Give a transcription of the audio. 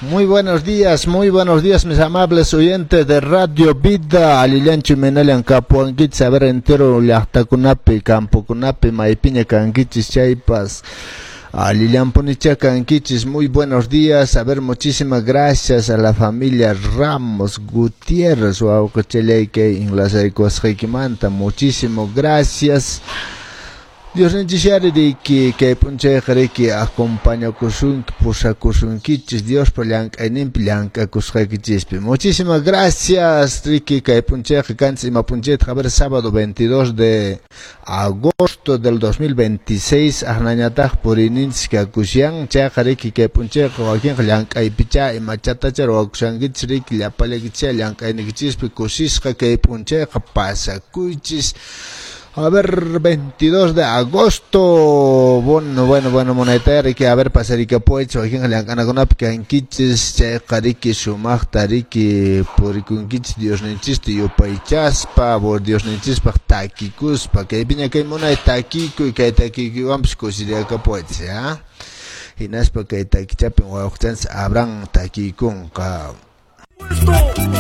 Muy buenos días, mis amables oyentes de Radio Vida. Allillanchu, imaynallan kapuwankichis? A ver, entero llaqtakunapi, campokunapi, maypiña kankichis chaypas. Allillanpunichá kankichis. Muy buenos días. A ver, muchísimas gracias a la familia Ramos Gutiérrez. Wawqichalay, kay enlazaykuwasqaykimanta. Muchísimo gracias. Diosninchis riki kay p'unchayqa riki acompañakusunki, pusakusunkichis Diospa llank'ayninpi, llank'akusqaykichispi. Muchísimas gracias, riki kay p'unchayqa kanchis ima p'unchaytaq? A ver, sábado 22 de agosto del 2026, aqnañataq puriyninchis kakushan. Chayqa riki kay p'unchayqa wakinqa llank'aypichá imachatacha ruwakushankichis riki, llapallaykichis llank'ayniykichispi kusisqa kay p'unchayqa pasakuychis. A ver, 22 de agosto. Bueno, bueno, bueno, munayta riki, a ver, pasarikapuwaychis, wakinqa llank'anakunapi kankichis, chayqa riki sumaqta riki purikunkichis Diosninchista yupaychaspa, Diosninchispaq takikuspa. Kaypiña kay munay takikuy, kay takikuywanpas kusiriakapuwaychis, ya. Hinaspa kay takichapin wawqichanchis Abraham takiykunqa.